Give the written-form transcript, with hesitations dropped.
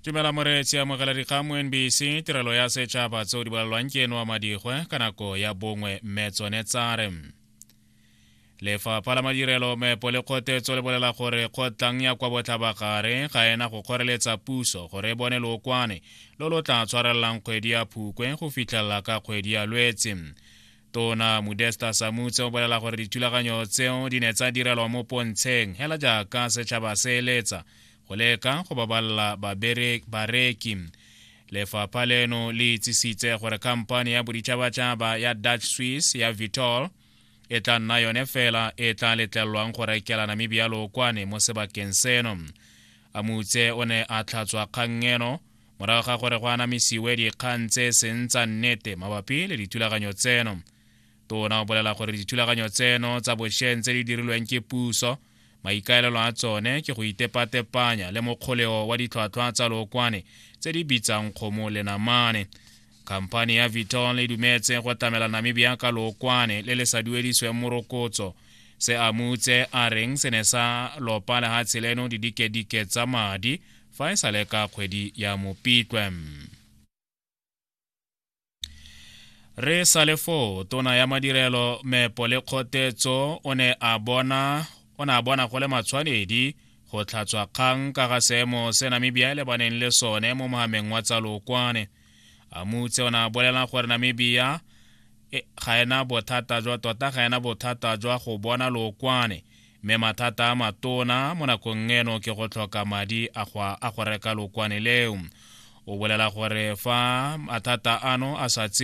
Tumela moreetsi, amogela dikgang mo NBC, tirelo ya setšhaba tseo di bolelwang ke eno wa Madigwe ka nako ya bongwe mme tsone tsare. Lefapha la Madirelo, Meepo le Kgotetso le bolela gore kgotlang ya kwa Botlhabagare ga ena go kgoreletsa puso gore e bone lookwane lo lo tla tshwarelelang kgwedi ya Phukwe go fitlhelela ka kgwedi ya Lwetse. Tona Modesta Samutse o bolela gore dithulaganyo tseo di ne tsa direlwa mo pontsheng hela jaaka setšhaba se eletsa go leka go babalela bareki. Lefapha leno le itsisitse gore khamphani ya boditšhabatšhaba ya Dutch Swiss ya Vitol e tla nna yone fela e tla letlelelwang go rekela Namibia lookwane mo sebakeng seno. Amutse o ne a tlhatswa kgang eno morago ga gore go anamisiwe dikgang tse seng tsa nnete mabapi le dithulaganyo tseno. Tona o bolela gore dithulaganyo tseno tsa bošeng tse di dirilweng ke puso maikaelelo a tsone ke go itepatepanya le mokgoleo wa ditlhwatlhwa tsa lookwane tse di bitsang kgomo le namane. Khamphani ya Vitol e dumetse go tlamela Namibia ka lookwane le le sa duedisweng morokotso, se Amutse a reng se ne sa lopa lehatshe leno didikedike tsa madi fa e sa le ka kgwedi ya Mopitlwe. Re sa le foo, tona ya madirelo, meepo le kgotetso o ne a bona o ne a bona go le matshwanedi go tlhatswa kgang ka ga seemo se Namibia e lebaneng le sone mo mohameng wa tsa lookwane. Amutse o ne a bolela gore Namibia e, ga ena bothata jwa tota ga ena bothata jwa go bona lookwane mme mathata a matona mo nakong eno ke go tlhoka madi a go a go reka lookwane leo. O bolela gore fa mathata ano a sa